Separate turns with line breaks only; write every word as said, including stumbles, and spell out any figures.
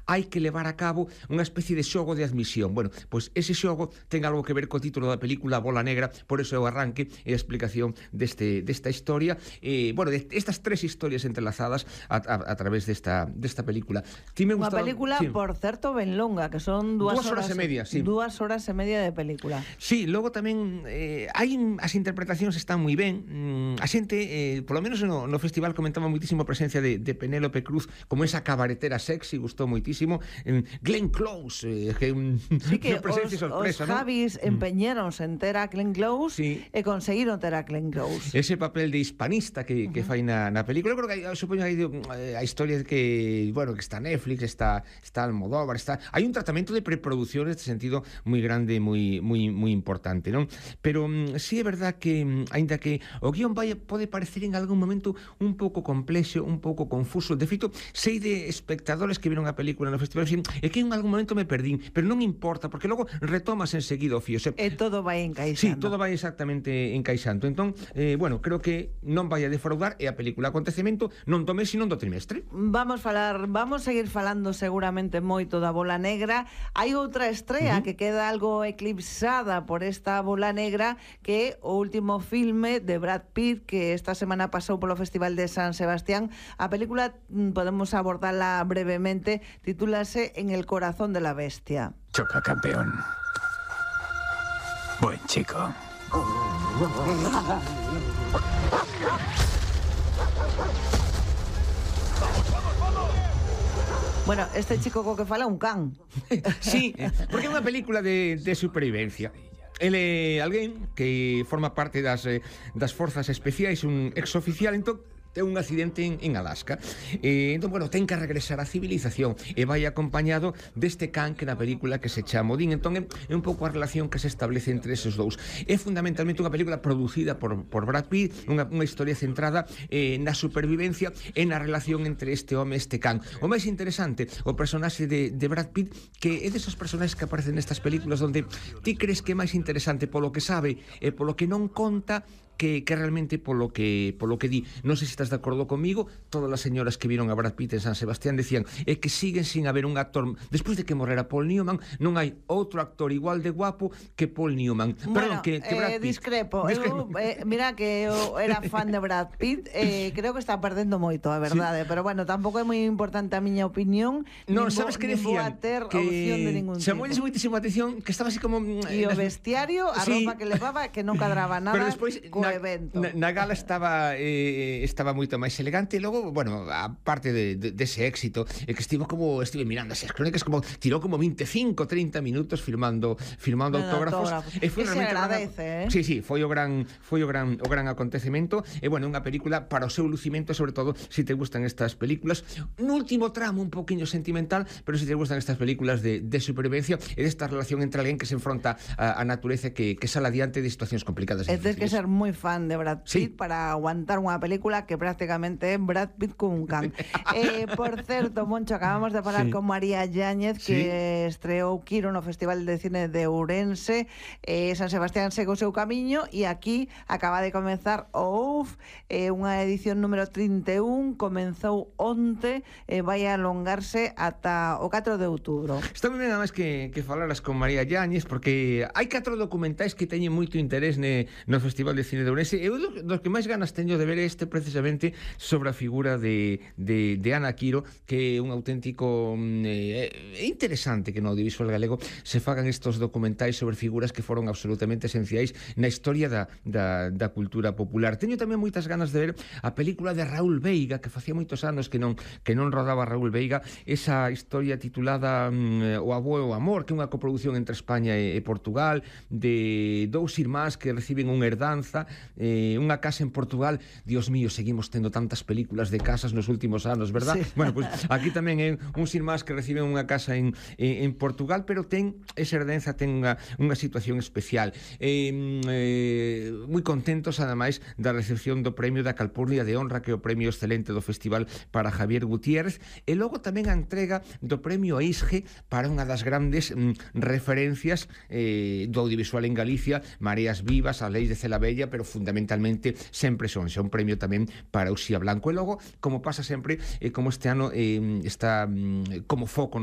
hai que levar a cabo unha especie de xogo de admisión. Bueno, pois ese xogo ten algo que ver co título da película Bola Negra, por eso é o arranque e a explicación deste, desta historia, eh, bueno, de estas tres historias entrelazadas a, a, a través desta, desta película.
Unha película, sí, por certo, ben longa, que son dúas,
dúas horas, horas e media, sí.
Dúas horas e media de película.
Sí, logo tamén eh, hai as interpretacións están moi ben. Mm, a xente, eh, polo menos no, no festival comentaba moitísimo a presencia de, de Penélope Cruz como esa cabaretera sexy, gustou moitísimo. Eh, Glenn Close, eh, que un,
sí, que
unha presencia
os,
sorpresa,
os Javis
¿no?
empeñéronse en ter a Glenn Close, sí, e conseguiron ter a Glenn Close.
Ese papel de hispanista que, que uh -huh. fai na, na película. Eu creo que hai, supoño que hai a historia de que, bueno, que está Netflix, está, está Almodóvar, está... Hai un tratamento de preproducción neste sentido moi grande, moi moi moi importante, non? Pero mm, sí é verdad que, aínda que o guión vai, pode parecer en algún momento un pouco complexo, un pouco confuso. De feito, sei de espectadores que viron a película no festival e que en algún momento me perdín, pero non importa, porque logo retomas enseguida o fío. Se...
E todo vai encaixando.
Sí, todo vai exactamente encaixando. Entón, eh, bueno, creo que non vai a defraudar e a película acontecemento non do mes, sino do trimestre.
Vamos falar, vamos seguir falando seguramente moito da Bola Negra. Hai outra estrela uh -huh. que queda algo eclipsada por esta Bola Negra, que é o último filme de Brad Pitt, que esta semana pasou polo Festival de San Sebastián. A película, podemos abordarla brevemente, titúlase En el corazón de la bestia.
Choca, campeón. Buen chico.
Bueno, este chico co que fala un can.
Sí, porque é unha película de, de supervivencia. Ele é alguén que forma parte das, das forzas especiais, un exoficial, entón ten un accidente en, en Alaska. Eh, entón, bueno, ten que regresar á civilización e vai acompañado deste can que na película que se chama Odín. Entón, é, é un pouco a relación que se establece entre esos dous. É fundamentalmente unha película producida por, por Brad Pitt, unha, unha historia centrada eh, na supervivencia e na relación entre este home e este can. O máis interesante, o personaxe de, de Brad Pitt, que é desos personaxes que aparecen nestas películas onde ti crees que é máis interesante polo que sabe e polo que non conta que, que realmente polo que polo que di. Non sei se estás de acordo comigo. Todas as señoras que viron a Brad Pitt en San Sebastián decían é que siguen sin haber un actor, despois de que morrera Paul Newman, non hai outro actor igual de guapo que Paul Newman.
Bueno,
Perdón, que, que Brad
eh,
Pitt.
discrepo, discrepo. Eu, eh, mira que eu era fan de Brad Pitt, eh, creo que está perdendo moito, a verdade, sí. Pero bueno, tampouco é moi importante a miña opinión.
Non, sabes que decían
que opción de ningún tipo.
Chamoules moitísima atención que estaba así como
e o vestiario, a
sí.
roupa que levaba, que non cadraba nada.
Pero despois
co
na,
evento.
Na, na gala estaba eh, estaba moito máis elegante. E logo, bueno, a parte de, de, dese éxito, é que estivo como estive mirando as crónicas, como tirou como veinticinco, treinta minutos filmando filmando
bueno,
autógrafos.
autógrafo.
E foi
realmente se agradece,
gran,
eh?
Sí, sí, foi o gran foi o gran o gran acontecemento. E bueno, unha película para o seu lucimento, sobre todo se si te gustan estas películas. Un último tramo un poquinho sentimental, pero se si te gustan estas películas de, de supervivencia e desta relación entre alguén que se enfronta a, a natureza que, que sale adiante de situacións complicadas.
É ter que ser moi fan de Brad Pitt, sí, para aguantar unha película que prácticamente é Brad Pitt con un can. eh, por certo, Moncho, acabamos de falar, sí, con María Yáñez, que sí, estreou Quiro no Festival de Cine de Ourense. eh, San Sebastián segue o seu camiño e aquí acaba de comenzar o U F, eh, unha edición número trinta e un, comenzou onte e eh, vai a alongarse ata o catro de outubro.
Está moi ben, además, que, que falaras con María Yáñez, porque hai catro documentais que teñen moito interés ne, no Festival de Cine de Ourense. Eu dos que máis ganas teño de ver este precisamente sobre a figura de, de, de Ana Quiro, que é un auténtico eh, é interesante que no audiovisual galego se fagan estos documentais sobre figuras que foron absolutamente esenciais na historia da, da, da cultura popular. Teño tamén moitas ganas de ver a película de Raúl Veiga, que facía moitos anos que non que non rodaba Raúl Veiga, esa historia titulada mm, O avó e o amor, que é unha coproducción entre España e, e Portugal, de dous irmáns que reciben unha herdanza, eh, unha casa en Portugal. Dios mío, seguimos tendo tantas películas de casas nos últimos anos, verdad? Sí. Bueno, pues aquí tamén é uns irmáns que reciben unha casa en, en, en Portugal, pero ten esa herdanza, ten unha, unha situación especial. Eh, eh, moi contentos, ademais, da recepción do premio da Calpurnia de Honra, que é o premio excelente do festival para Javier Gutiérrez, e logo tamén a entrega do premio Aisge para unha das grandes mm, referencias eh, do audiovisual en Galicia, Mareas Vivas, A Lei de Cela Bella, pero fundamentalmente Sempre Son, xa un premio tamén para Uxía Blanco. E logo, como pasa sempre, eh, como este ano eh, está mm, como foco